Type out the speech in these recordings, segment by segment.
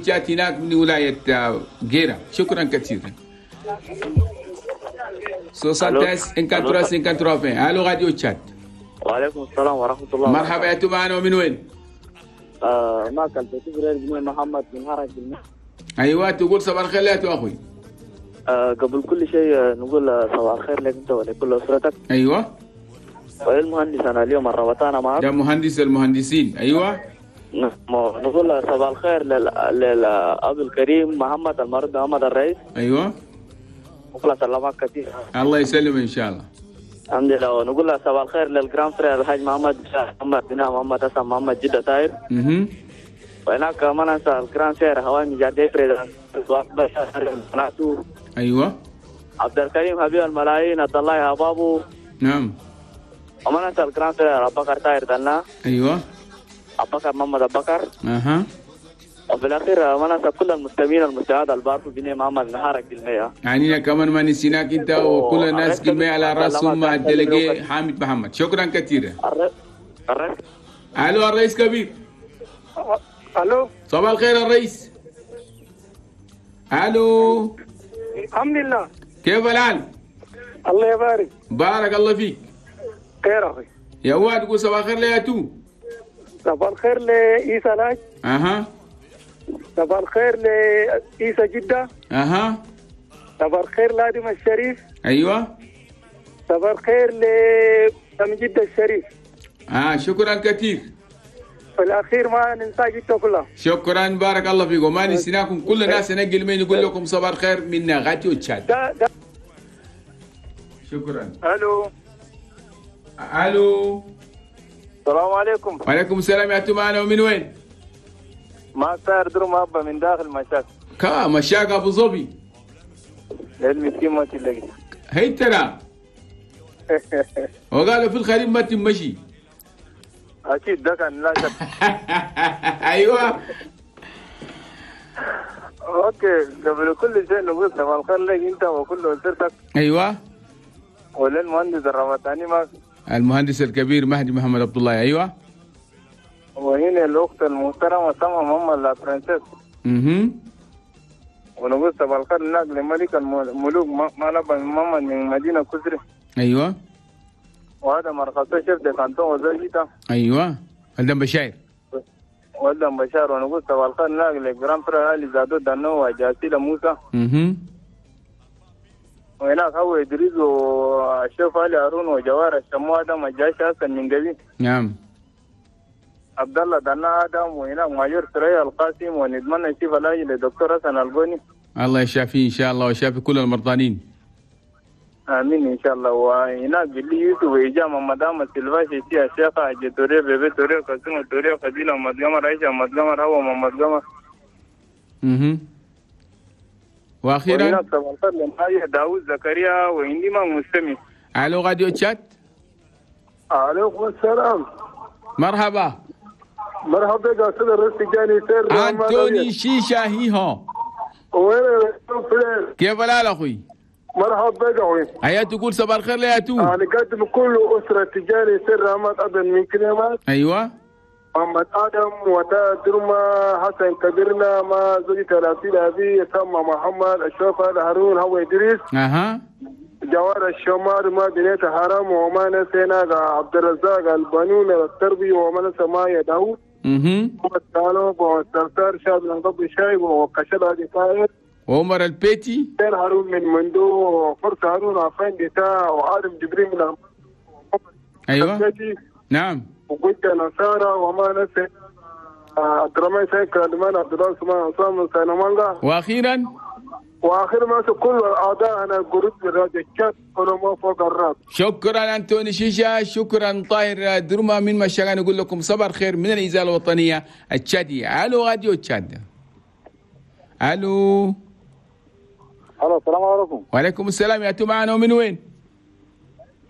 تشات هناك من ولاية جيرة. شكرا كثيرا. 73 53 الو راديو تشات. وعليكم السلام ورحمة الله. مرحبا يا معنا ومن وين؟ معك البتبرير محمد من هرج. ايوه تقول صباح الخير يا اخوي. قبل كل شيء نقول صباح الخير لك انت ولكل اسرتك. ايوه. وللمهندس انا اليوم الروتانا معك. ده مهندس المهندسين. ايوه. نقول صباح الخير للاب الكريم محمد المرد محمد الرئيس. ايوه. وخلاص الله معك كثير. الله يسلم ان شاء الله. الحمد لله. ونقول صباح الخير لل grand frère الحاج محمد محمد بن محمد حسن محمد جدة طاير. وهناك ما ننسى ال grand frère هوامي جادي président. ايوه. عبد الكريم حبيب الملايين عبد الله ابابو. نعم. وما ننسى ال grand frère ابو بكر طاير دنا. ايوه. ابو بكر محمد ابو بكر. اها. وفي الاخير ما ننسى كل المستمعين المستمعات البارفو بني محمد نهارك بالمية. يعني كمان ما نسيناك انت وكل الناس كلمة على راسهم مع ال délégué حامد محمد. شكرا كثيرا. الو الرئيس كبير. الو صباح الخير الرئيس. الو. الحمد لله. كيف الحال؟ الله يبارك. بارك الله فيك. خير اخي. يا واد قول صباح الخير ليا تو. صباح الخير لعيسى لاج. اها. صباح الخير لعيسى جدة. اها. صباح الخير لادم الشريف. ايوه. صباح الخير لأم جدة الشريف. شكرا كثير. في الاخير ما ننسى جدة كلها. شكرا بارك الله فيكم. ما نسيناكم كل الناس نقل من يقول لكم صباح الخير من غاتيو تشاد. شكرا. الو. الو. السلام عليكم. وعليكم السلام يا معنا ومن وين؟ ما صار درو ما من داخل مشاك. كا مشاك ابو ظبي. المسكين ما تلاقي. هي ترى. وقالوا في الخريف ما تمشي. اكيد ده كان لا شك. ايوه. okay قبل كل شيء نقول صباح الخير لك انت وكل اسرتك. ايوه. وللمهندس الرمضاني معك. المهندس الكبير مهدي محمد عبد الله. ايوه. وهنا الاخت المحترمة سما محمد la princesse. ونقول صباح الخير هناك لملك الملوك مالبا محمد من مدينة كسري. ايوه. وهذا مرقصه chef de canton وزوجته. ايوه. ولدن بشاير. ولدن بشار. ونقول صباح الخير هناك ل grand frère علي زادو دانو وجاسيلة موسى. وهناك هو ادريس والشيخ علي هارون وجوار الشمو ادم الجاش حسن من قبيل. نعم. عبد الله دنا ادم. وهناك ماجور سريع القاسم. ونتمنى الشفاء العاجل للدكتور حسن البوني. الله يشافيه ان شاء الله ويشافي كل المرضانين. امين ان شاء الله. وهناك باللي يوسف واجامه مدام سلفاشي سي الشيخ حاج توري بيبي توري قاسم توري خديله محمد قمر عائشة محمد قمر هو محمد قمر. واخيرا وهناك صباح الخير لمحايا داوود زكريا وعندي ما مستمع. الو راديو تشات. عليكم السلام. مرحبا. مرحبا بك استاذ الرئيس جاني سير انتوني شيشة هيها. وين كيف الحال اخوي؟ مرحبا بك اخوي. هيا تقول صباح الخير ليا تو. انا قدم كل اسره تجاري سر رحمة ادم من كلمات. ايوه. محمد ادم وتا درما حسن كبيرنا ما زوجته الأصيلة ابي سما محمد اشرف هارون هو ادريس. اها. جوار الشمار ما بنيت حرام وما نسينا عبد الرزاق البنون التربية وما نسى ما داوود. وسالو وسرسار شاب نضب شاي وكشل هذه طاير وعمر البيتي سير هارون من مندو وفرس هارون عفان ديتا وعارف جبريل من ايوه. نعم. وقلت نصارى وما نسي عبد الرحمن سيد كلمان عبد الله سمان عصام سينمانجا. واخيرا واخر ما كل الاعضاء انا groupe الراديو تشات كلهم فوق الراس. شكرا انتوني شيشة، شكرا طاهر درما من مشاغان. نقول لكم صباح الخير من الاذاعة الوطنية التشاديه. الو راديو تشاد. الو. الو السلام عليكم. وعليكم السلام. يا معنا ومن وين؟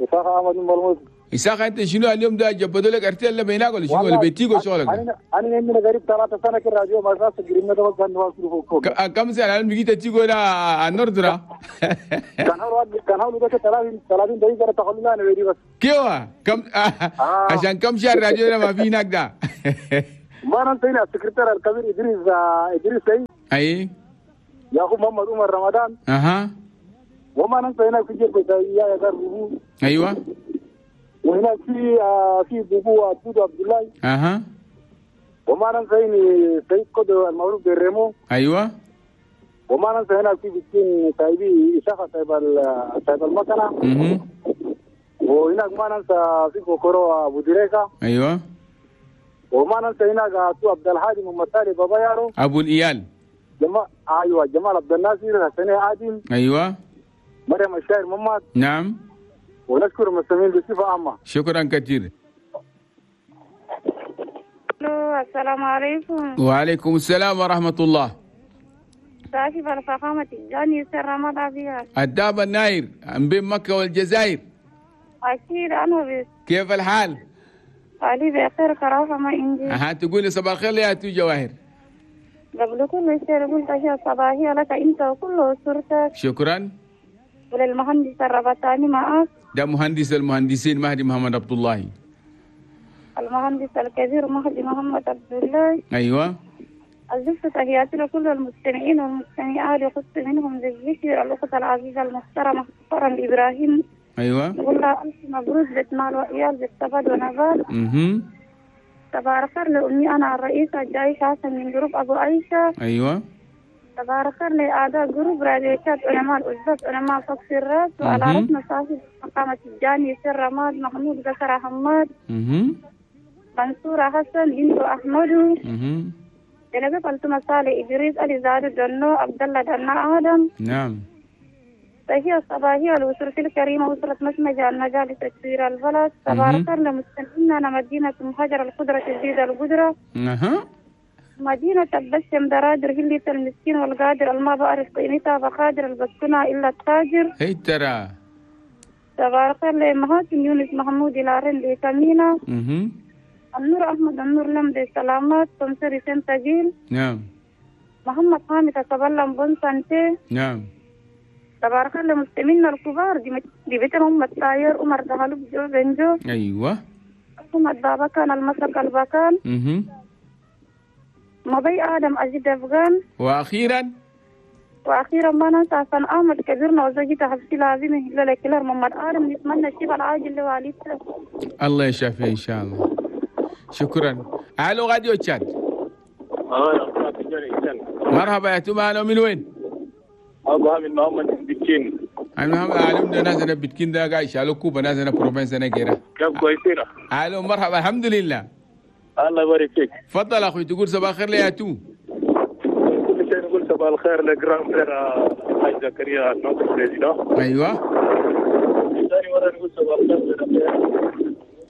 إسحاق احمد من بلموز. إسحاق انت شنو اليوم ده جبدوا لك ارتيل ولا بيناك ولا شنو ولا بيتيكو شغلك؟ انا عندنا قريب 3 سنة في الراديو ما راس قريبنا ده كان واصل فوق. كم سنة انا بقيت تيجو ده النردره. كان هو ده 30 دقيقة تخلونا انا بس. كيف كم عشان كم شهر الراديو ده ما في هناك ده. ما ننسى هنا السكرتير الكبير ادريس سعيد. اي يا اخو محمد عمر رمضان. اها. وما ننسى هناك في جيب يا بوبو. ايوه. وهناك في بوبو عبد الله. اها. وما ننسى هنا سيد قدر المعروف بالريمو. ايوه. وما ننسى هناك في بتين سايبي إشاخة سايب المكنة. وهناك ما ننسى في بوكورو أبو دريكا. ايوه. وما ننسى هناك عبد الهادي محمد سالي بابا يارو ابو الايال. ايوه جمال عبد الناصر حسين عادل. ايوه. مريم الشاعر محمد. نعم. ونشكر المستمعين بصفة عامة. شكرا كثير. السلام عليكم. وعليكم السلام ورحمة الله. صاحب الفخامة جاني سر رمضان بها. الداب الناير بين مكة والجزائر. أكيد أنا بس. كيف الحال؟ علي بخير كرافة ما عندي. أها تقولي صباح الخير يا تو جواهر. قبل كل شيء قلت هي صباحية لك أنت وكل أسرتك. شكرا. وللمهندس الربطاني معك. ده مهندس المهندسين مهدي محمد عبد الله. المهندس الكبير مهدي محمد عبد الله. أيوة. أزفت تحياتي لكل المستمعين والمستمعات، يخص منهم بالذكر الأخت العزيزة المحترمة فرن إبراهيم. أيوة. نقول لها ألف مبروك بيت مال وعيال بالسبد ونبات. تبارك خير لأمي أنا الرئيسة الجايشة حسن من جروب أبو عيشة. أيوة. تبارك خير لأعضاء جروب راديوشات علماء الأزبك علماء فوق الراس، وعلى رأسنا صاحب مقامة الجاني سر رماد محمود بكر حماد. منصورة حسن بنت أحمد. جنبي فلتما صالح إدريس علي زاد دنو عبد الله دنا آدم. نعم. فهي الصباحية الأسرة الكريمة أسرة مسمجة المجالس تسوير البلد. تبارك لمستمعينا مدينة مهاجر القدرة تزيد القدرة. مدينة البشم درادر هلية المسكين والقادر الما بعرف قيمتها بقادر البسكنة إلا التاجر. هي ترى. تبارك لمهاتم يونس محمود لارين لكمينة. النور أحمد النور لمدي سلامات سمسري سنتجيل. نعم. محمد حامد تبلم بن سانتي. نعم. تبارك الله مستمعينا الكبار دي بيتهم الطاير عمر دهلوب جو بنجو. ايوه. محمد بابا كان المسك البكان. مضي ادم اجد افغان. واخيرا ما ننسى حسن احمد كبيرنا وزوجته حبسي لازم لكلر محمد ادم، نتمنى الشفاء العاجل لوالدته. الله يشافيه ان شاء الله. شكرا. الو راديو تشاد. مرحبا يا توما، من وين؟ ابو عامر محمد بتكين. انا عالم ده ناس انا بتكين ده قاعد شالو كوبا ناس انا بروفنس انا كده. كيف كويسين؟ الو مرحبا الحمد لله. الله يبارك فيك. تفضل اخوي تقول صباح الخير ليا تو. كل شيء نقول صباح الخير ل grand frère الحاج زكريا notre président. ايوه. ثاني مرة نقول صباح الخير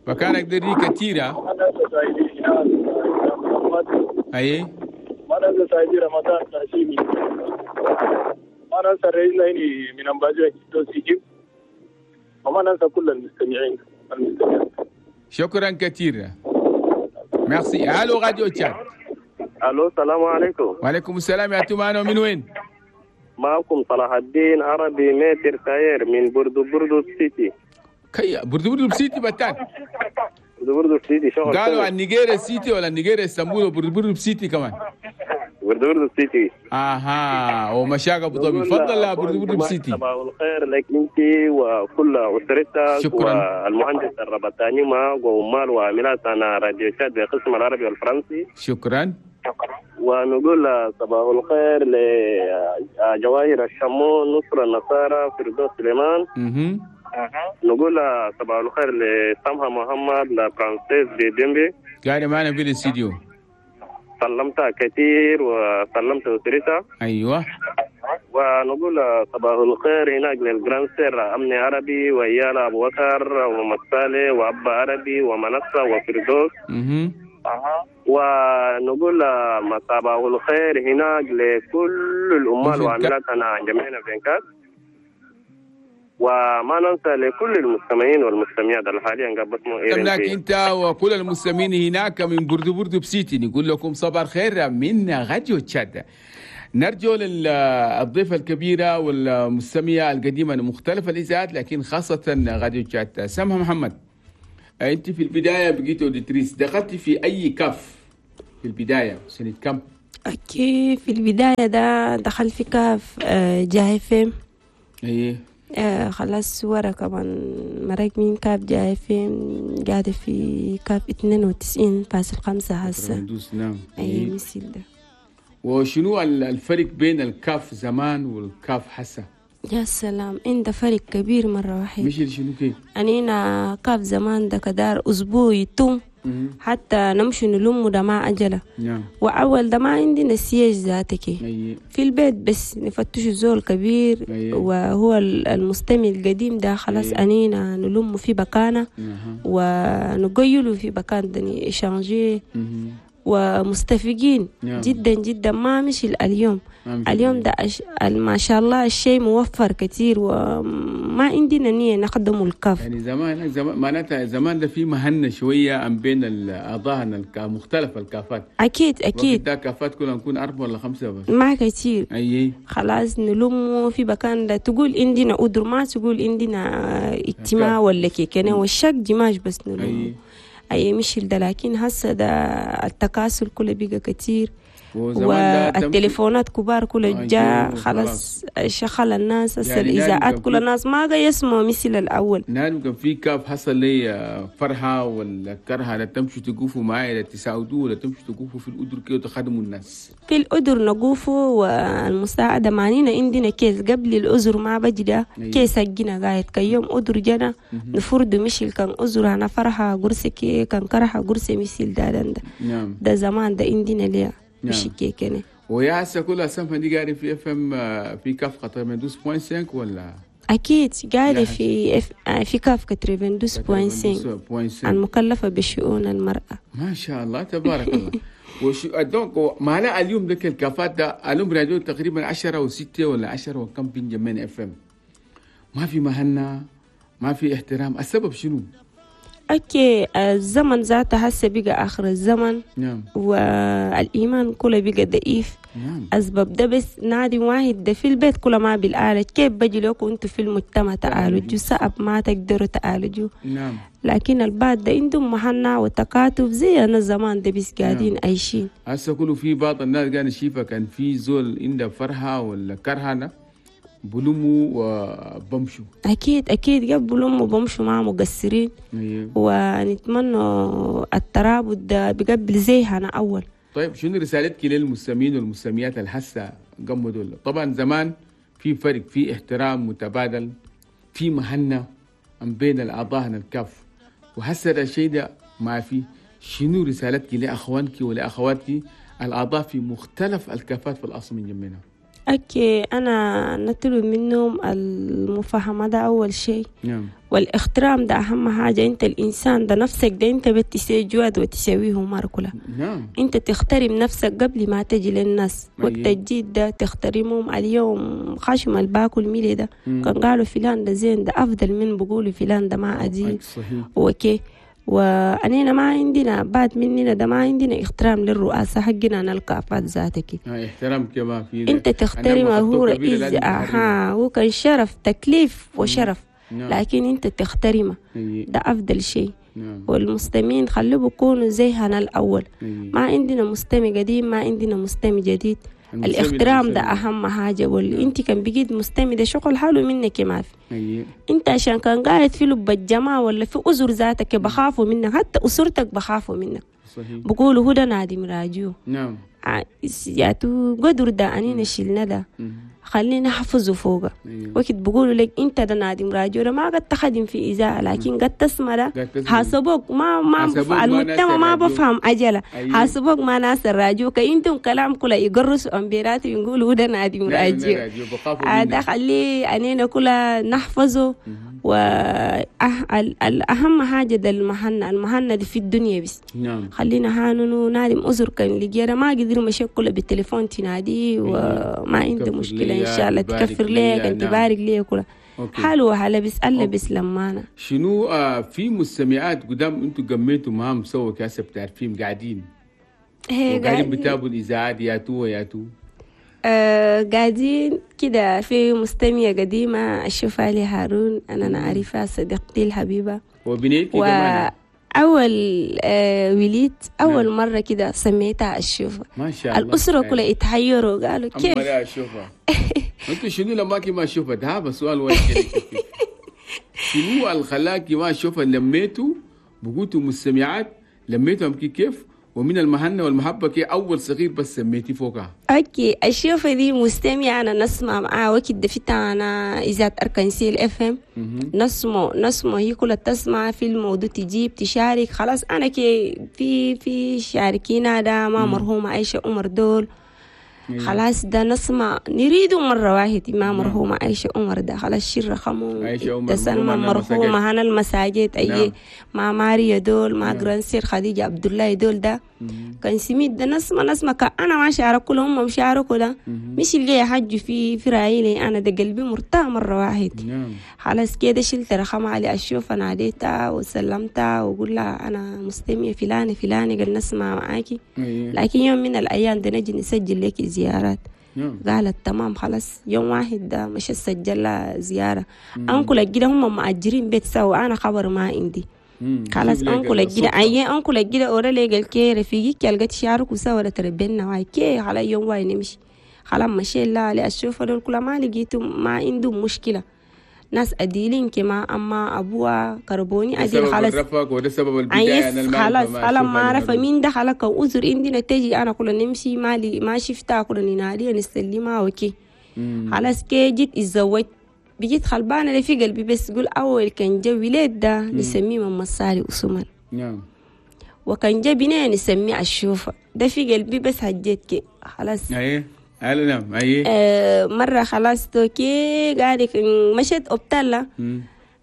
مكانك دري كثيرة. اي ما ننسى سعيد رمضان تهشيمي. ما ننسى الرئيس ليني من أمباجو سيجيب. وما ننسى كل المستمعين المستمعين. شكرا كثيرا. ميرسي. الو راديو تشاد. الو السلام عليكم. وعليكم السلام يا تومانو، من وين؟ معكم صلاح الدين عربي متر تاير من بردو بردو سيتي. كي بردو بردو سيتي بتان. بردو بردو سيتي شغل. قالوا عن نيجيريا سيتي ولا نيجيريا اسطنبول وبردو بردو سيتي كمان. بردو بردو سيتي. اها ومشاق ابو ظبي. تفضل يا بردو بردو سيتي. صباح الخير لك انت وكل اسرتك. شكرا. والمهندس الربطاني معك وعمال وعاملات انا راديو شاد بقسم العربي والفرنسي. شكرا. ونقول صباح الخير لجواهر الشمون، نصر النصارى، فردوس سليمان. نقول صباح الخير لسمحة محمد لفرانسيس بيدمبي قاعدة معنا في الاستديو. سلمتها كثير وسلمت أسرتها. أيوة. ونقول صباح الخير هناك لل grande sœur أمني عربي وإيالا أبو بكر ومحمد صالح وأبا عربي ومنصة وفردوس. ونقول صباح الخير هناك لكل الأمال وعاملاتنا جميعنا في إنكاس. وما ننسى لكل المستمعين والمستمعات حاليا قبل لك انت وكل المستمعين هناك من بردو بردو بسيتي، نقول لكم صباح الخير من راديو تشاد. نرجو للضيفة الكبيرة والمستمعة القديمة لمختلف الإذاعات لكن خاصة راديو تشاد، سمحة محمد. انت في البداية بقيت auditrice، دخلتي في اي CAF؟ في البداية سنة كم؟ okay، في البداية ده دخل في كاف جا FM. ايه. خلاص ورا كمان مرق من كاف جا FM، قاعدة في كاف 92.5 هسه. نعم. اي مثل ده. وشنو الفرق بين الكاف زمان والكاف هسه؟ يا سلام، عند فرق كبير مرة واحد. مش شنو كيف؟ أنينا كاف زمان ده كدار أسبوع يتم حتى نمشي نلم ده مع أجله. نعم. وأول ده ما عندنا سياج ذاتك. في البيت بس نفتش زول كبير. أي. وهو المستمع القديم ده خلاص. أي. أنينا نلم في بكانة ونقيله في بكان ده échanger ومستفقين. نعم. جدا جدا، ما مش اليوم. ما مش اليوم ده ما شاء الله الشيء موفر كتير، وما عندنا نية نخدم الكاف. يعني زمان زمان معناتها زمان ده في مهنة شوية عن بين الأعضاء مختلف الكافات. أكيد أكيد. ده كافات كلها نكون 4 ولا 5 بس. ما كتير. أي. خلاص نلمه في مكان ده، تقول عندنا أدر، ما تقول عندنا اجتماع ولا كيكنا والشك دماج بس نلمه. أي مش ده، لكن هسه ده التكاسل كله بقى كتير، والتليفونات كبار كله جاء خلاص شغل الناس هسه. يعني الإذاعات كل الناس ما قاعد يسمعوا مثل الأول. نعم، كان في كاف حصل لي فرحة ولا كرهة، لا تمشوا تقوفوا معي، لا تساعدوه، ولا تمشوا تقوفوا في الأدر كي وتخدموا الناس. في الأدر نقوفوا والمساعدة معنينا عندنا كيس قبل الأزر ما بجي ده. كيس حقنا قاعد كيوم أدر جنا نفرد مشي، كان أزر أنا فرحة قرصة كي، كان كرهة قرصة مثل ده ده. نعم. ده زمان ده عندنا ليه. مش كيكني. ويا هسه كلها سمحة دي قاعدة في FM في كاف 92.5 ولا؟ أكيد قاعدة في في كاف 92.5 المكلفة بشؤون المرأة. ما شاء الله تبارك الله. وشو donc معناه اليوم ذاك الكافات ده اليوم راديو تقريبا 10 و6 ولا 10 وكم بنجمين FM، ما في مهنة، ما في احترام، السبب شنو؟ okay، الزمن ذاته هسه بقى آخر الزمن. نعم. والإيمان كله بقى ضعيف. نعم. أسباب ده بس نادي واحد ده في البيت كله ما بالآلة، كيف بجي لكم أنتوا في المجتمع تعالجوا صعب، ما تقدروا تعالجوا. نعم. لكن البعض ده عندهم مهنة وتكاتف زي أنا زمان ده بس قاعدين عايشين. هسه كله في بعض الناس قاعد شيفة كان في زول عنده فرحة ولا كرهة بلموا وبمشوا. أكيد أكيد قبل بلموا بمشوا مع مقصرين. أيوه. ونتمنى الترابط ده بقبل زي أنا أول. طيب شنو رسالتك للمستمعين والمستمعات الحسة قموا دول؟ طبعا زمان في فرق، في احترام متبادل، في مهنة بين الأعضاء الكاف، وهسه الشيء ده ما في. شنو رسالتك لأخوانك ولأخواتك الأعضاء في مختلف الكافات في الأصل من جنبنا؟ okay، أنا نطلب منهم المفاهمة ده أول شيء. نعم. والاحترام ده أهم حاجة. أنت الإنسان ده نفسك ده أنت بتسوي جواد وتسويه مرة كلها. نعم. أنت تخترم نفسك قبل ما تجي للناس. أيه. وقت الجيد ده تخترمهم. اليوم خشم الباكل ميلي ده كان قالوا فلان ده زين، ده أفضل من بقولوا فلان ده ما أدين. صحيح. okay، وأنينا ما عندنا بعد مننا ده ما عندنا احترام للرؤاسة حقنا نلقى ذاتك. احترام كما في انت تحترم هو رئيس، هو كان شرف تكليف وشرف. نعم. لكن انت تحترمه. ده افضل شيء. نعم. والمستمعين خلوه بيكونوا زي هنا الاول. ما عندنا مستمع قديم، ما عندنا مستمع جديد. الاحترام ده اهم حاجه. واللي انت كان بقيت مستمع ده شغل حاله منك ما في. انت عشان كان قاعد في لب الجماعه ولا في أزر ذاتك بخافوا منك، حتى اسرتك بخافوا منك. صحيح. بقولوا هو ده نادم راجيو. نعم. ياتو قدر ده انينا شلنا ده خلينا نحفظه فوقه. وقت بقولوا لك انت ده نادم راجيو ده ما قد تخدم في اذاعه، لكن قد تسمع ده حاسبوك ما المجتمع ما بفهم عجله. حاسبوك ما ناس الراجيو كأنتم كلام كله يقرصوا امبيرات ويقولوا ده نادم راجيو. هذا خليه انينا كله نحفظه. والأهم حاجة ده المهنة، المهنة دي في الدنيا بس. نعم. خلينا هانونو نادم أزر كان لقينا ما قدر مشكلة بالتليفون تنادي وما عنده مشكلة إن شاء الله تكفر ليك أنت تبارك ليك كله حلو حلا بس ألا بس لما أنا شنو في مستمعات قدام أنتوا قميتوا معهم سوا كاسة بتعرفين قاعدين قاعدين بتابوا الإذاعات ياتو وياتو قاعدين كده. في مستمعة قديمة أشوفها لي هارون، أنا نعرفها صديقتي الحبيبة وبنيتي كمان. أول وليد أول نعم. مرة كده سميتها الشوفة. ما شاء الله. الأسرة كلها اتحيروا، قالوا كيف أما الشوفة؟ أنتوا شنو لما ما شوفة؟ ده سؤال واحد. شنو الخلاكي ما شوفة؟ لميتوا بقوتوا مستمعات، لميتهم كيف؟ ومن المهنة والمحبة كي أول صغير بس سميتي فوقها. okay، الشوفة دي مستمع أنا نسمع معاه وقت دفتها أنا إذا أركنسيل FM نسمع هي كلها تسمع في الموضوع، تجيب تشارك. خلاص أنا كي في شاركينا ده ما مرحومة عائشة عمر دول. خلاص ده نسمع نريده مرة واحدة ما مرحومة عائشة عمر ده. خلاص شير رقمه تسلم مرحومة هنا المساجد أي نعم. مع ماريا دول مع grande sœur خديجة عبد الله دول ده كان سميت ده نسمع أنا ما شاركوا كلهم هم شاركوا ده مش اللي حج في رايلي أنا ده قلبي مرتاح مرة واحد. نعم. خلاص كده شلت رقم علي أشوف ناديتها وسلمتها وقول لها أنا مستمية فلانة فلانة قال نسمع معاكي. لكن يوم من الأيام ده نجي نسجل لك زيارات. قالت تمام. خلاص يوم واحد ده مش سجل لها زيارة. أنكل الجدة هم مأجرين بيت سوا، أنا خبر ما عندي. خلاص أنكل الجدة أي أنكل الجدة أورا لي قال كي رفيقي كي شارك وسوا ولا تربينا واي كي على يوم واي نمشي. خلاص مشي لا لأشوف دول كل ما لقيتهم ما عندهم مشكلة، ناس أديلين كما أما أبوها كربوني أديل. خلاص الرفق وده سبب البداية. أنا خلاص خلاص ما عرف مين ده خلاص كأذر عندنا تجي أنا كل نمشي مالي ما شفتها كل ننادي نسلمها وكي. خلاص كي جيت اتزوجت بجيت خلبانة اللي في قلبي بس قول أول كان جو ولاد ده نسميه ماما صالي وسمان. نعم. وكان جا بناء نسميه الشوفة ده في قلبي بس هجيت كي خلاص. أيه نعم أيه. مرة خلاص توكي قاعد مشيت أبتلا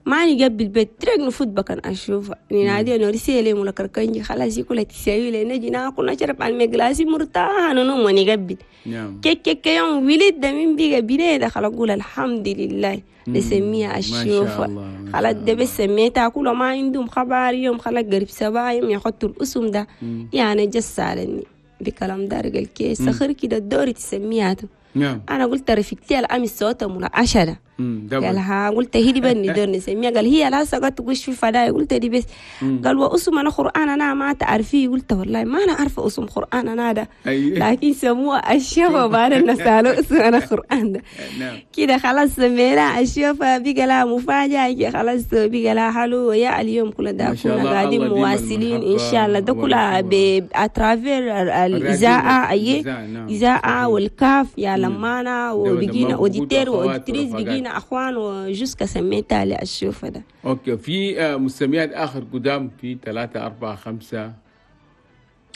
ماني قبل البيت ترك نفوت بكن أشوف نادي أنا رسالة ولا كركنجي خلاص يقول تساوي لي نجي ناكل نشرب على المجلاسي مرتاح أنا نوم ونقبل. نعم. كي كي كي يوم ولد ده من بيجا بني ده خلاص أقول الحمد لله نسميها الشوفة. خلاص ده بس سميتها كله ما عندهم خبر يوم خلاص قريب 7 يوم يحطوا الأسم ده يعني جس علني بكلام دارج الكيس سخر كده الدوري تسميها. نعم. أنا قلت رفيقتي الأمس صوتها ملا 10. قالها قلت هي دي بني دور نسميها. قال هي لا سقط وش في فداي. قلت دي بس. قال وأسم أنا قرآن أنا ما تعرفيه. قلت والله ما أنا عارفة أسم قرآن أنا ده. لكن سموها الشوفة بعد نسأله أسم أنا قرآن ده. كده خلاص سمينا الشوفة بقى لها مفاجأة. خلاص بقى لها حلو يا اليوم كل ده كنا قاعدين مواصلين إن شاء الله ده كلها à travers الإذاعة أي إذاعة والكاف يا لمانا وبقينا auditeurs و auditrices بقينا اخوان و jusqu'à سميتها للشوفة ده. okay في مستمعات اخر قدام في 3 4 5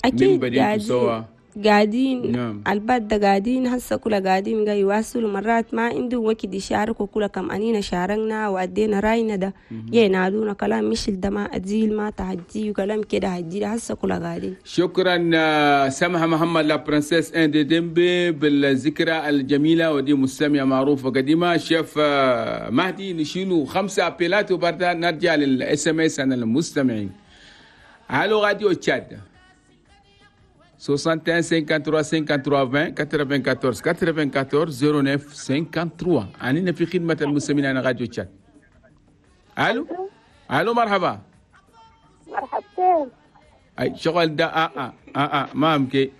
اكيد قاعدين قاعدين. نعم. الباد ده قاعدين هسه كلها قاعدين قاعد يواصلوا مرات ما عندهم وقت يشاركوا كلها كم انينا شاركنا وادينا راينا ده ينادونا كلام مش ده ما اتزيل ما تهجي وكلام كده هجي هسه كلها قاعدين. شكرا سمحة محمد la princesse ان دي ديمبي بالذكرى الجميلة ودي مستمعة معروفة قديمة. شيف مهدي نشيلو 5 ابيلات وبعدها نرجع لل SMS عن المستمعين. الو راديو تشاد 61 53 53 20 94 94 09 53. أننا في خدمة المستمعين على راديو تشاد. ألو ألو مرحبا. مرحبتين. أي شغل ده ما أمكي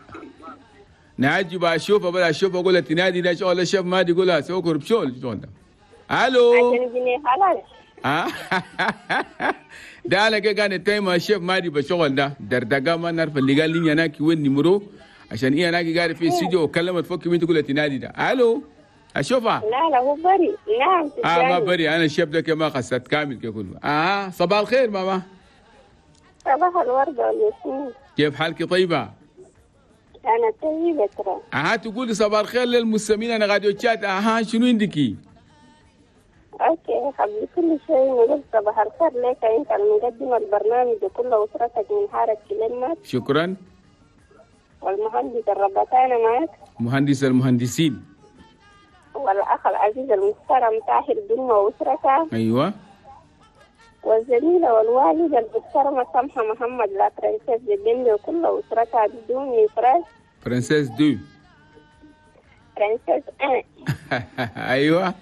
نعجب أشوف أبدا أشوف أقول تنادي ده شغل الشيف ما دي يقولها سوكر بشغل شغل ده. ألو. عشان جنيه حلال. ده على كده كان التايم الشيف مادي بشغل ده دردقة ما نعرف اللي قال لي هناك وين نمرو عشان ايه هناك قاعد في الاستوديو وكلمت فوق مين تقول تنادي ده. الو اشوفها. لا لا هو بري. نعم ما بري انا الشيف ده كما خسرت كامل كله. صباح الخير ماما. صباح الورد والياسمين. كيف حالك طيبة؟ انا طيبة ترى. تقولي صباح الخير للمستمعين انا راديو تشاد. شنو عندك؟ okay قبل كل شيء نقول صباح الخير لك انت المقدم البرنامج وكل اسرتك من حارة كلمات. شكرا. والمهندس الربطانة معك. مهندس المهندسين. والاخ العزيز المحترم طاهر دمة واسرته. ايوه. والزميلة والوالدة المحترمة سمحة محمد la princesse بالدنيا وكل اسرتها بدون افراز. princesse deux. princesse un. ايوه.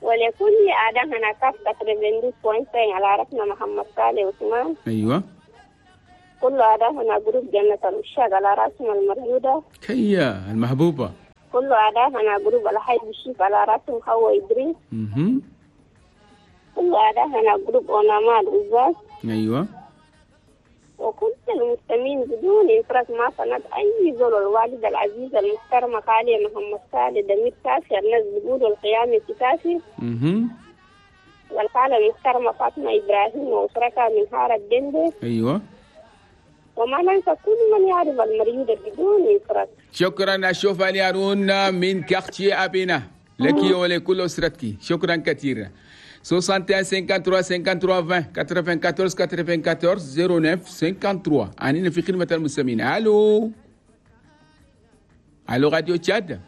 ولكل أعداء هنا كافة 92.5 على رأسنا محمد صالح عثمان. أيوة. كل أعداء هنا groupe جنة العشاق على رأسنا المرجودة. كيا المحبوبة. كل أعداء هنا groupe الحي بشيف على رأسهم هو إدريس. كل أعداء هنا groupe أونامال العزاز. أيوة. وكل المستمعين بدون إفراط ما فند أي زول. الوالدة العزيزة المحترمة خالية محمد صالح دمير كافي الناس بيقولوا القيامة كافي. والخالة المحترمة فاطمة إبراهيم وأسرتها من هارة الدندة. أيوة. وما ننسى كل من يعرف المريض بدون إفراط. شكرا أشوف علي هارون من كاختي أبينا لك ولكل أسرتك. شكرا كثيرا. 61 53 53 20 94 94 09 53. أنا في خدمة المستمعين. ألو ألو راديو تشاد.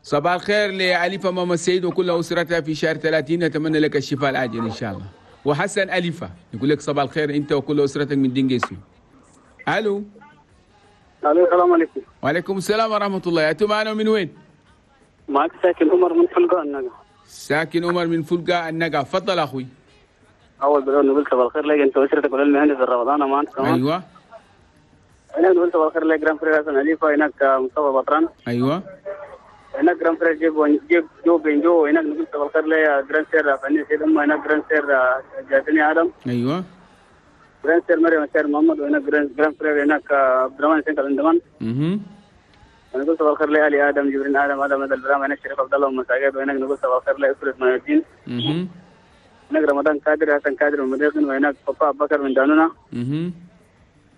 صباح الخير لأليفة ماما السيد وكل أسرتها في شهر 30. نتمنى لك الشفاء العاجل إن شاء الله. وحسن أليفة يقول لك صباح الخير أنت وكل أسرتك من دينجيسو. ألو ألو السلام عليكم. وعليكم السلام ورحمة الله. أنتم معنا من وين؟ معك ساكن عمر من فلقة النقا. ساكن عمر من فلقة النقا، تفضل أخوي. أول بدأ نقول صباح الخير لك أنت وأسرتك وللمهندس الرمضان أمان كمان. أيوة. هناك نقول صباح الخير لك grand frère حسن أليفة، هناك مصطفى بطران. أيوة. هناك grand frère جيب جو بنجو، هناك نقول صباح الخير لك grand sœur فني سيد أمه، هناك grand sœur جاسني آدم. أيوة. grand sœur مريم سير محمد، وهناك grand frère هناك عبد الرحمن سيد الأندمان. نقول صباح الخير لآلي آدم جبرين آدم آدم هذا البرامج هناك شريف عبد الله ومساجد، وهناك نقول صباح الخير لأسرة ما الدين. هناك رمضان كادر حسن كادر من مديقن، وهناك صفاء بكر من دانونا.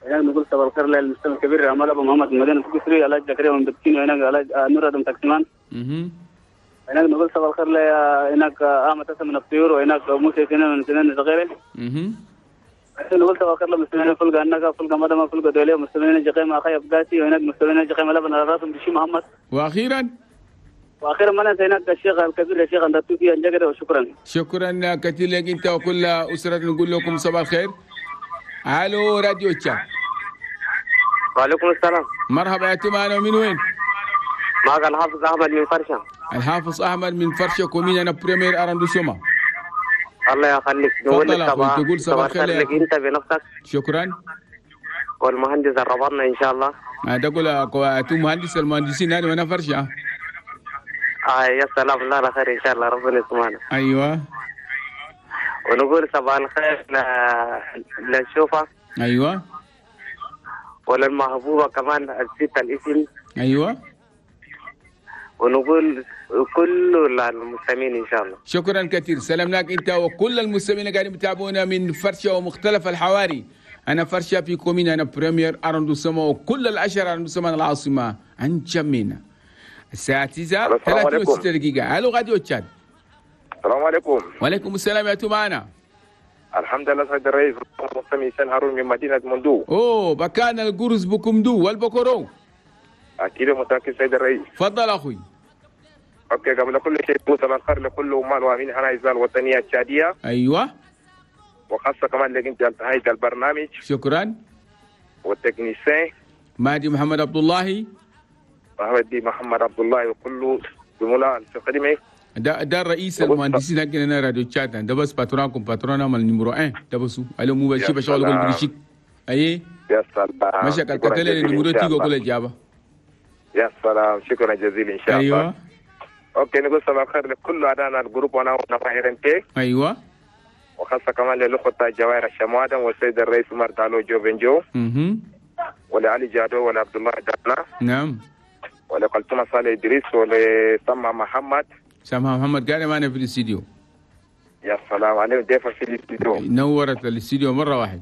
هناك نقول صباح الخير للمستمع الكبير عمال أبو محمد من مدينة كسري، علاج زكريا من بكين، وهناك علاج نور آدم تكسمان. هناك نقول صباح الخير هناك أحمد حسن من الطيور، وهناك موسى سنان من سنان الصغيرة. نقول صباح الخير للمستمعين فلقة النقا فلقة مدمة فلقة دولية، مستمعين جقيمة أخي أبقاسي، وهناك مستمعين جقيمة لبن على راسهم بشي محمد. وأخيرا ما ننسى هناك الشيخ الكبير الشيخ أندتوكي أنجقر. وشكرا. شكرا كثير لك أنت وكل أسرة. نقول لكم صباح الخير. ألو راديو تشاد. وعليكم السلام. مرحبا يا تمانا، من وين؟ معك الحافظ أحمد من فرشة. الحافظ أحمد من فرشة commune أنا premier arrondissement. الله يخليك. نقول لك تقول صباح الخير لك انت بنفسك. شكرا. والمهندس الرباطنا ان شاء الله. تقول انتم مهندس المهندسين هذا وانا فرشه. يا سلام، الله على خير ان شاء الله، ربنا يسمعنا. ايوه. ونقول صباح الخير للشوفه. ايوه. وللمحبوبه كمان نسيت الاسم. ايوه. ونقول كل المستمعين ان شاء الله. شكرا كثير، سلامناك انت وكل المستمعين اللي قاعدين يتابعونا من فرشه ومختلف الحواري. انا فرشه في commune انا premier arrondissement وكل العشر arrondissements العاصمه انجمينا. الساعه 9:36 دقيقه. الو راديو تشاد. السلام عليكم. وعليكم السلام، يا معنا. الحمد لله سيد الرئيس، مستمع سن هارون من مدينه مندو. اوه بكان القرص بكمدو والبكرو. اكيد متاكد سيد الرئيس. تفضل اخوي. okay، قبل كل شيء صباح الخير لكل عمال وامين هنا الوطنيه التشاديه. ايوه. وخاصه كمان لك انت انتهيت البرنامج. شكرا. وال technicien مهدي محمد عبد الله. مهدي محمد عبد الله وكل زملاء في الخدمه. ده الرئيس المهندسين حقنا راديو تشاد، ده بس patron كم patron عمل numéro 1 ده بس الو مو بشي بشغل كل بريشيك. اي يا سلام، ماشي كالكتله numéro تيجو كل جابه. يا سلام، شكرا جزيلا ان شاء الله. ايوه. okay، نقول صباح الخير لكل اعدائنا ال groupe وانا ونفاهرنتي. ايوه. وخاصه كمان للاخوه جواهر الشموادم والسيد الرئيس عمر دالو جو بنجو. ولعلي جادو ولعبد الله دانا. نعم. ولقلتنا صالح ادريس ولسمع محمد. سمع محمد قال معنا في الاستديو. يا سلام عليك، ضيفه في الاستديو. نورت الاستديو مره واحد.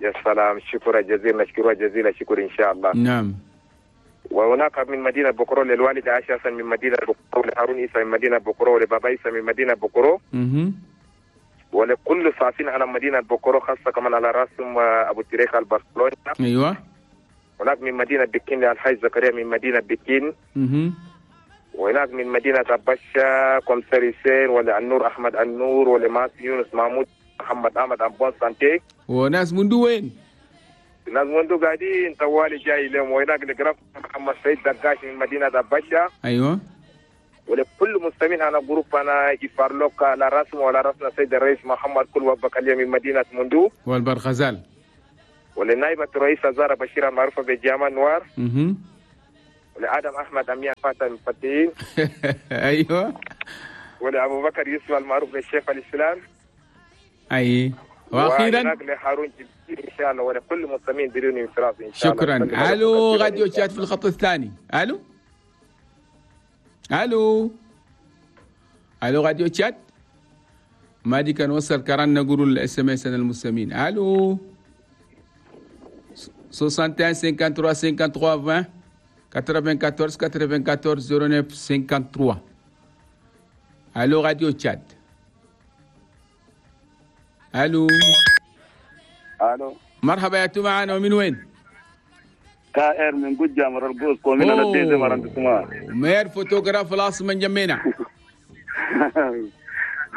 يا سلام، شكرا جزيلا، نشكرها جزيلا شكر ان شاء الله. نعم. وهناك من مدينة بكرو للوالد عائشة حسن من مدينة بكرو، لهارون إيسا من مدينة بكرو، لبابا إيسا من مدينة بكرو. ولكل صافين على مدينة بكرو، خاصة كمان على راسهم أبو تريخ البرشلونة. أيوة. هناك من مدينة بكين للحاج زكريا من مدينة بكين. وهناك من مدينة أبشا كومساريسين وللنور أحمد النور ولماس يونس محمود محمد أحمد أبوان سانتي. وناس من وين؟ الناس منذ قاعدين طوالي جاي لهم. وهناك الجراف محمد سيد دقاش من مدينة أبشا. أيوة. ولكل مستمعين انا groupe انا يفارلوك على راسنا وعلى راسنا السيد الرئيس محمد كل وبكاليا من مدينة مندو والبرغزال ولنائبة الرئيس زارة بشير المعروفة بجامع نوار ولآدم أحمد أميان فاتح المفتين أيوه ولأبو بكر يوسف المعروف بالشيخ الإسلام أي وأخيرا لهارون جبريل إن شاء الله ولكل مستمعين بدون انفراط إن شاء الله. شكرا. ألو راديو تشاد في الخط الثاني. ألو ألو ألو راديو تشاد ما دي كان وصل كران نقول ال SMS المستمعين. ألو 61 53 53 20 94 94 09 53. ألو راديو تشاد. ألو ألو مرحبا يا تو معنا ومن وين؟ كائر من قجة مرقوز ومن الديزة مرقوز maire photographe العاصمة جمينا.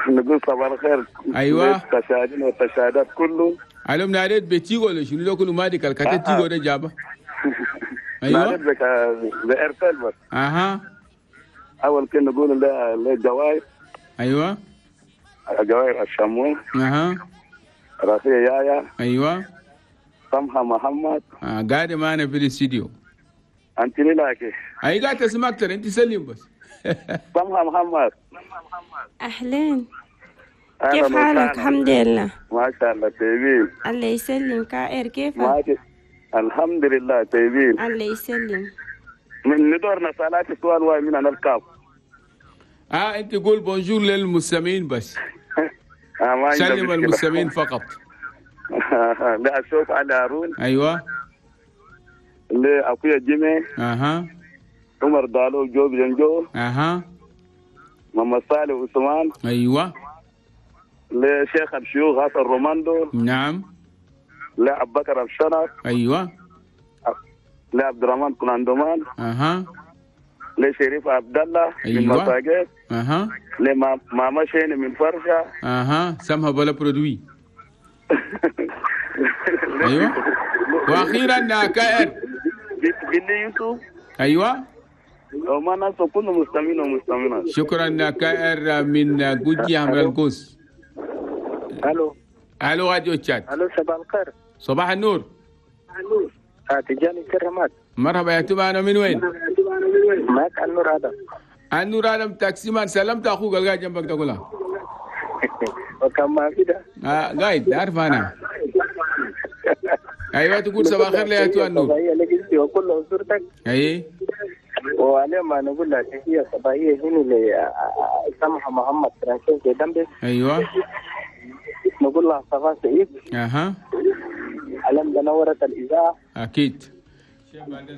نقول صباح الخير. أيوة التشادين والتشادات كله. ألو مناريت بتيجو ولا شنو لو كله ما ديك الكاتة تيجو ده جابه. أيوة ناريت بك بإرسال بس. أها أول كنا نقول للجواير. أيوة جواير الشمون. أها راسية يايا. أيوة سمحة محمد. قاعدة معنا في الاستديو. أنت لك أي قاعد تسمع أكتر أنت سلم بس. سمحة محمد. أهلين كيف حالك؟ الحمد لله ما شاء الله طيبين. الله يسلم. كائر كيفك؟ الحمد لله طيبين. الله يسلم. من ندورنا سألات سؤال واي من أنا الكاب. أنت قول bonjour للمستمعين بس. سلم المستمعين فقط. لا أشوف على هارون. أيوة. لأخويا جيمي. أها. عمر دالو جوب جنجو. أها. محمد صالح عثمان. أيوة. لشيخ الشيوخ حسن روماندو. نعم. لأبو بكر الشنر. أيوة. لعبد الرحمن كلاندومان. أها. لشريف عبد الله. أيوة. من مساجد. أها. لماما شيني من فرشة. أها. سمها بلا برودوي. أيوة. وأخيرا كائر بني يوسف. أيوة. وما ناس كل مستمعين ومستمعات. شكرا كائر من جوجي عمر القوس. الو الو راديو تشاد. الو صباح الخير. صباح النور. النور. تجاني كرمات. مرحبا يا توبا، انا من وين؟ معك النور ادم. النور ادم taxi man. سلمت اخوك القاعد جنبك تقولها. وكم ما كده؟ قايد عارف انا. ايوه تقول صباح الخير يا تو النور. صباحية لك انت وكل اسرتك. اي وعليه ما نقول لها تحية صباحية هنا لسمحه محمد فرانسيس دمبس. ايوه نقول لها صباح سعيد. اها علم نورت الاذاعة اكيد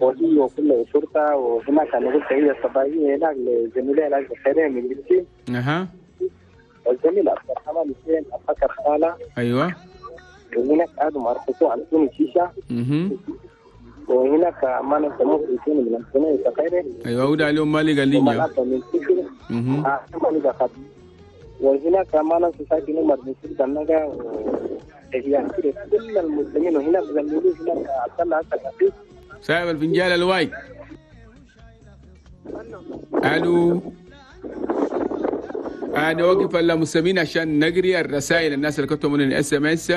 وهي وكل اسرتها. وهناك نقول تحية صباحية هناك لزميلي العزيز خيرين من الجنسين. اها والزميل عبد الرحمن حسين ابو بكر خاله. ايوه وهناك ادم ارخصوا على سوني شيشة. وهناك ما نسموه في من السنة خيره. ايوه وده اليوم مالي قال لي. وهناك ما ننسى ساكن عمر بن سيد النجا كل المسلمين. وهناك زميلي هناك عبد الله حسن صاحب الفنجان الواي. الو انا واقف المستمعين عشان نقري الرسائل الناس اللي كتبوا من ال SMS.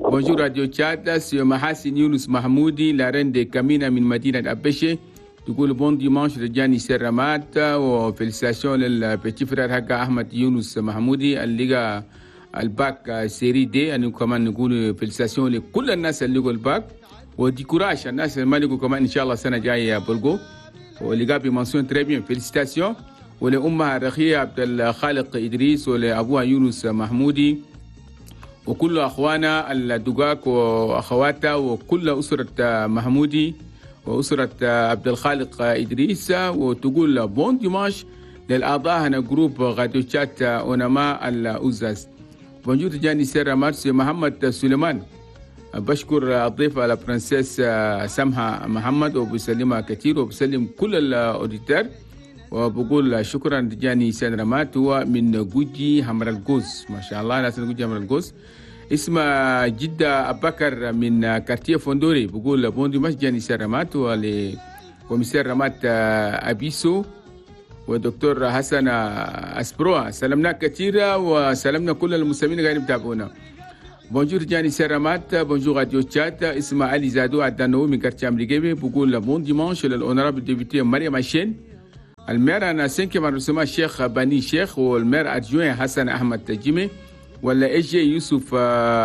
bonjour راديو تشاد، c'est محاسن يونس محمودي la reine de كامينا من مدينة ابشي. تقول bon dimanche رجاني سرمات و félicitations لل petit frère حق احمد يونس محمودي اللي لقى ال bac série D. يعني كمان نقول félicitations لكل الناس اللي لقوا ال bac و du courage الناس اللي ما لقوا كمان ان شاء الله السنة الجاية بلقوا واللي جاب mention très bien félicitations. ولامها الرخيه عبد الخالق ادريس ولابوها يونس محمودي وكل اخوانا الدقاق واخواتها وكل اسره محمودي وأسرة عبد الخالق إدريس. وتقول bon dimanche للأعضاء هنا groupe راديو تشات أونما الأوزاز. bonjour تجاني سيرا مارسي محمد سليمان. بشكر الضيفة la princesse سمحة محمد وبسلمها كثير وبسلم كل ال auditeurs وبقول شكرا تجاني سيرا مات. هو من جوجي حمر الجوز. ما شاء الله ناس جوجي حمر الجوز. اسمه جدة أبكر من quartier فندوري. بقول bon dimanche جاني سرمات ول commissaire رمات أبيسو ودكتور حسن أسبروا. سلمنا كثير وسلمنا كل المستمعين اللي قاعدين يتابعونا. bonjour جاني سرامات، bonjour راديو تشاد. اسمه علي زادو عدنو من quartier أمريكي، بقول bon dimanche لل honorable députée مريم عشين، ال maire أنا cinquième arrondissement الشيخ بني شيخ، وال maire adjoint حسن أحمد تجيمي، ولا SG يوسف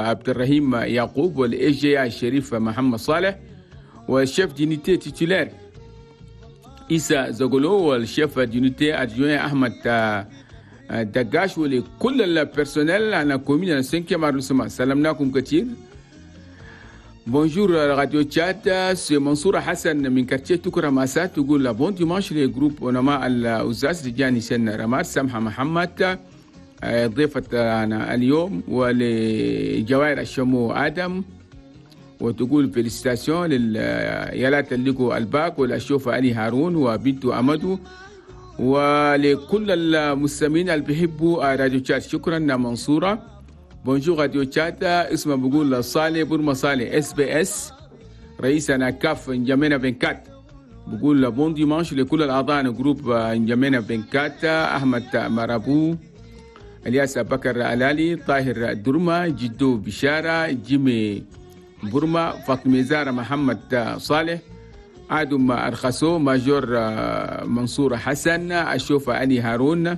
عبد الرحيم يعقوب، ولا SG الشريف محمد صالح، وال chef d'unité titulaire إيسا زغلو، وال chef d'unité adjoint أحمد دقاش، ولكل ال personnel أنا commune 5 arrondissement. سلمناكم كثير. bonjour راديو تشاد، c'est منصور حسن من quartier تكرا ماسات، تقول bon dimanche les groupes ونما الأستاذ رجاني سن رمار سمحة محمد ضيفة أنا اليوم، ولجوائر الشمو آدم، وتقول félicitations لليالات اللي الباك والأشوف علي هارون وبنته أمدو، ولكل المستمعين اللي بيحبوا راديو تشاد. شكرا منصورة. bonjour راديو تشاد، اسمه بقول صالح برما صالح SBS رئيسنا كاف انجمينا vingt-quatre، بقول bon dimanche لكل الاعضاء groupe انجمينا vingt-quatre، احمد مرابو، الياس بكر الالي، طاهر درما، جدو بشارة، جيمي برما، فاطمة زارة محمد صالح، آدم أرخصو، major منصور حسن، أشوف علي هارون،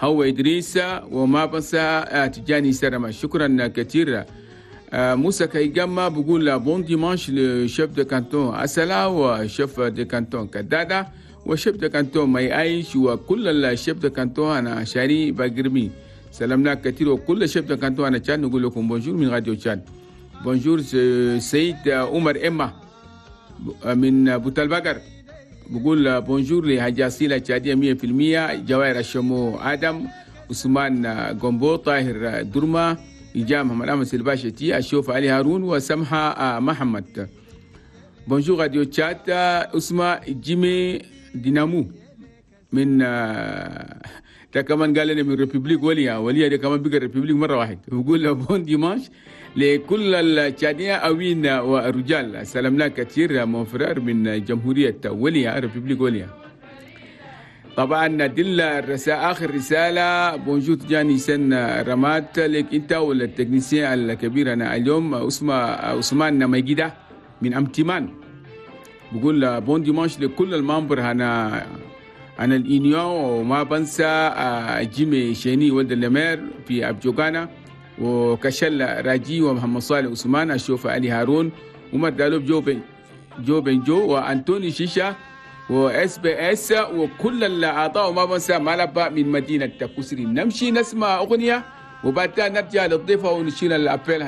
هو إدريس، وما بنسى تجاني سرما. شكرا كثير. موسى كيجاما بقول bon dimanche le chef de canton أسلا، و chef de canton كدادا، و chef de canton ماي أيش، وكل ال chefs de canton أنا شاري باقرمي. سلامنا كثير وكل chefs de canton أنا تشاد نقول لكم bonjour من راديو تشاد. bonjour سيد عمر إما من بوتالبقر، بقول bonjour لهجاسيلة تشادية 100%، جوائر الشمو آدم، عثمان جومبو، طاهر درما، إجام محمد أحمد سلباشتي، الشوف علي هارون، وسمحة محمد. bonjour راديو تشاد، اسمه جيمي دينامو من ده كمان قال لنا من République وليا، وليا ده كمان بقى République مرة واحد. بقول bon dimanche لكل التشادية أوين والرجال. سلامنا كثير mon frère من جمهورية وليا، République وليا. طبعا دل الرسالة، آخر رسالة bonjour جاني سن رمات لك أنت ولا ال technicien الكبير أنا اليوم عثمان ميجيدة من أمتمان، بقول bon dimanche لكل ال membres هنا أنا ال union، وما بنسى جيمي شيني ولد ال maire في أبجوغانا، وكشل راجي، ومحمد صالح عثمان، أشوف علي هارون، عمر دالوب، جو بن جو، وأنتوني شيشة، و SBS، وكل الأعضاء، وما بنسى مالبا من مدينة كسري. نمشي نسمع أغنية وبعدها نرجع للضيفة ونشيل ال appel.